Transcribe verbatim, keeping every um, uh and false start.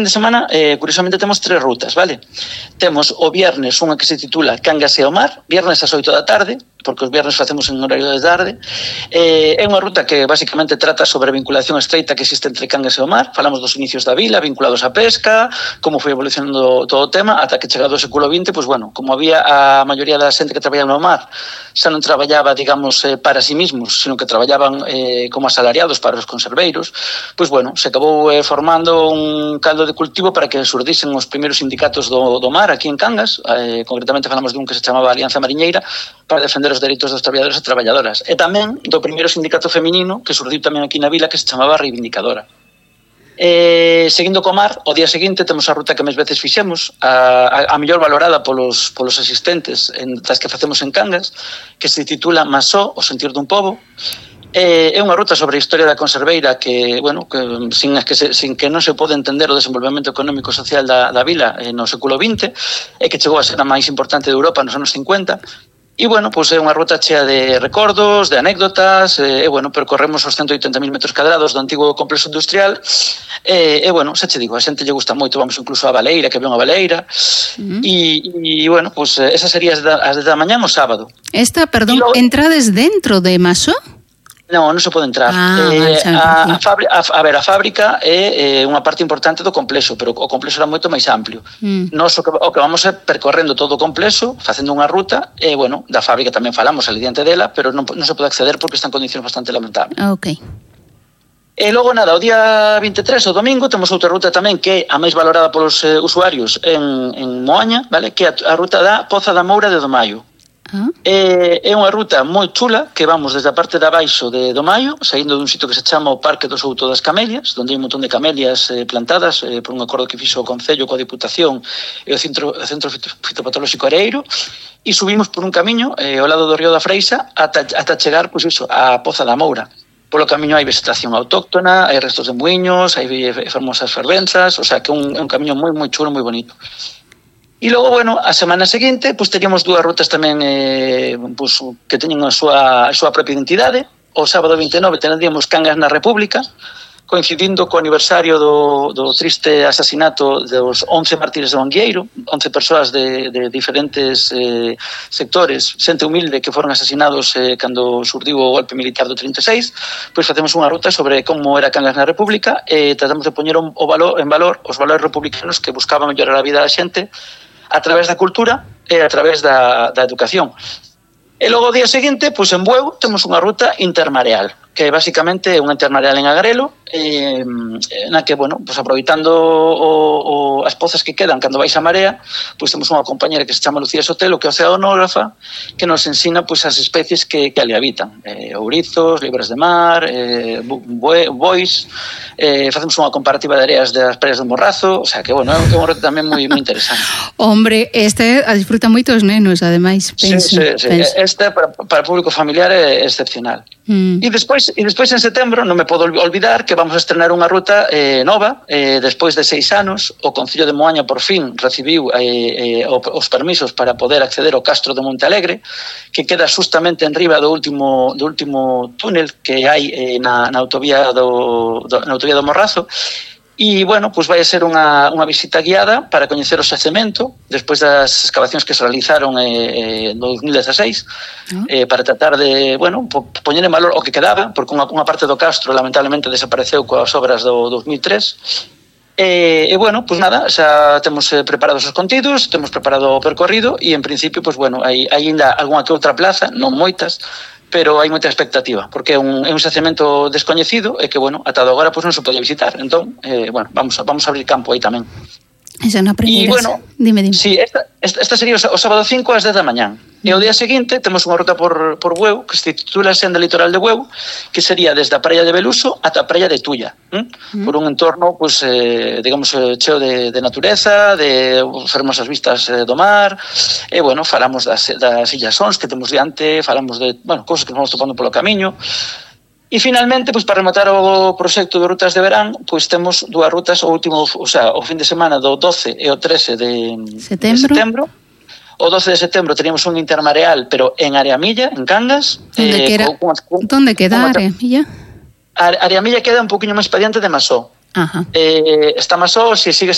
de semana, eh, curiosamente, temos tres rutas, vale? Temos o viernes unha que se titula Cangas e o mar, viernes ás oito da tarde, porque os viernes facemos en horario de tarde. Eh, é unha ruta que basicamente trata sobre a vinculación estreita que existe entre Cangas e o mar. Falamos dos inicios da vila, vinculados á pesca, como foi evolucionando todo o tema, ata que chegado ao século vinte, pois bueno, como había a maioría da xente que traballaba no mar, xa non traballaba, digamos, eh, para sí mismos, sino que traballaban eh, como asalariados para os conserveiros, pois bueno, se acabou eh, formando un caldo de cultivo para que surdisen os primeiros sindicatos do, do mar aquí en Cangas, eh, concretamente falamos dun que se chamaba Alianza Mariñeira, para defender os dereitos dos traballadores e traballadoras, e tamén do primeiro sindicato feminino que surdiu tamén aquí na vila, que se chamaba Reivindicadora. Eh, seguindo co mar, o día seguinte temos a ruta que máis veces fixemos, a, a, a mellor valorada polos, polos asistentes en, das que facemos en Cangas, que se titula Masó, o sentir dun pobo. É unha ruta sobre a historia da conserveira que, bueno, que sin que, se, sin que non se pode entender o desenvolvemento económico e social da, da vila eh, no século vinte, e que chegou a ser a máis importante de Europa nos anos cincuenta. E, bueno, pois é unha ruta chea de recordos, de anécdotas, e, bueno, percorremos os cento e oitenta mil metros cadrados do antigo complexo industrial, e, e bueno, xa che digo, a xente lle gusta moito, vamos incluso á baleira, que ve unha baleira, uh-huh. e, e, bueno, pois esa sería as da, as da mañá o sábado. Esta, perdón, lo... entrades dentro de Masó? Non, non se pode entrar. Ah, eh, vale, a, a, fábrica, a, a ver, a fábrica é eh, unha parte importante do complexo, pero o complexo era moito máis amplio. Mm. Nos o que, o que vamos é percorrendo todo o complexo, facendo unha ruta, e, bueno, da fábrica tamén falamos ali diante dela, pero non, non se pode acceder porque está en condicións bastante lamentables. Ok. E logo, nada, o día vinte e tres, o domingo, temos outra ruta tamén que é a máis valorada polos eh, usuarios en, en Moaña, vale? Que é a, a ruta da Poza da Moura de Domaio. Uh-huh. É, é unha ruta moi chula que vamos desde a parte de abaixo de Domaio, saindo dun sitio que se chama o Parque do Souto das Camelias, onde hai un montón de camelias eh, plantadas eh, por un acordo que fixo o Concello coa Diputación e o Centro, o Centro Fitopatolóxico Areiro, e subimos por un camiño eh, ao lado do río da Freixa ata, ata chegar, pois iso, a Poza da Moura. Polo camiño hai vegetación autóctona, hai restos de muiños, hai fermosas fervenzas, o sea que é un, é un camiño moi moi chulo, moi bonito. E logo, bueno, a semana seguinte, pois teríamos dúas rutas tamén eh, pois, que teñen a súa, a súa propia identidade. O sábado vinte e nove teníamos Cangas na República, coincidindo co aniversario do, do triste asasinato dos once mártires do Anguieiro, once persoas de, de diferentes eh, sectores, xente humilde que foron asasinados eh, cando surdiu o golpe militar do trinta e seis, pois facemos unha ruta sobre como era Cangas na República e tratamos de poñer o valor, en valor os valores republicanos que buscaban mellorar a vida da xente a través da cultura e a través da, da educación. E logo o día seguinte, pois en Bueu, temos unha ruta intermareal, que basicamente é unha intermareal en Agrelo, eh, na que, bueno, pois aproveitando o, o, as pozas que quedan cando vais a marea, pois temos unha compañera que se chama Lucía Sotelo, que é oceanógrafa, que nos ensina pois as especies que, que ali habitan. Eh, ourizos, libras de mar, eh, bois, eh, facemos unha comparativa de areas das praias do Morrazo, o sea que, bueno, é un reto tamén moi, moi interesante. Hombre, este a disfruta moito os nenos, ademais, penso. Sí, sí, sí. penso. Este para, para o público familiar é excepcional. Mm. E despois, e despois en setembro, non me podo olvidar que vamos a estrenar unha ruta eh, nova, eh, despois de seis anos, o Concello de Moaña por fin recibiu eh, eh, os permisos para poder acceder ao Castro de Monte Alegre, que queda justamente en riba do último, do último túnel que hai eh, na, na autovía do, do, na autovía do Morrazo. E, bueno, pois vai a ser unha, unha visita guiada para coñecer o xacemento despois das excavacións que se realizaron eh, no dos mil dezaseis, uh-huh. eh, para tratar de, bueno, po, poñer en valor o que quedaba, porque unha, unha parte do castro lamentablemente desapareceu coas obras do dos mil tres. E, e bueno, pois nada, xa temos eh, preparados os contidos, temos preparado o percorrido e en principio, pois bueno, hai, hai ainda algunha que outra plaza, non moitas, pero hai moita expectativa, porque é un, é un xacemento descoñecido e que, bueno, ata agora pois non se pode visitar. Entón, eh, bueno, vamos a, vamos a abrir campo aí tamén. Esa non aprenderas. E, bueno, dime, dime. Sí, esta, esta, esta sería o sábado cinco ás dez da mañán. E o día seguinte temos unha ruta por, por Bueu, que se titula Senda Litoral de Bueu, que sería desde a praia de Beluso ata a praia de Tulla, ¿eh? Mm. Por un entorno, pues, eh, digamos, cheo de, de natureza, de fermosas vistas eh, do mar, e, bueno, falamos das, das Illas Sons que temos diante, falamos de, bueno, cosas que vamos topando polo camiño. E finalmente, pois para rematar o proxecto de rutas de verán, pois temos dúas rutas o último, o sea, o fin de semana do doce e o trece de setembro. De setembro. O doce de setembro teníamos un intermareal, pero en Areamilla, en Cangas. Onde eh, queda? Con, con, Onde queda Areamilla? Areamilla queda un poquinho máis para diante de Masó. Ajá. Eh, está máis só se sigues